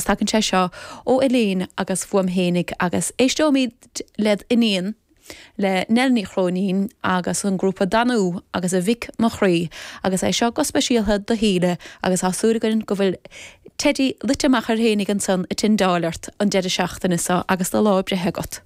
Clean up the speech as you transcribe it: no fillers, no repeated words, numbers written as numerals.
Tagann sé seo ó Elaine agus uaim fhéinig agus éisteoimid led iníon, le Nell Ní Chróinín agus an grúpa Danú agus A Mhic Mo Chroí agus é seo go speisialtha do Shíle agus tá súil againn go bhfuil Teidí luite amach air fhéinig ansan i Tindáil ort an deireadh seachtaine seo agus do lá breithe agat.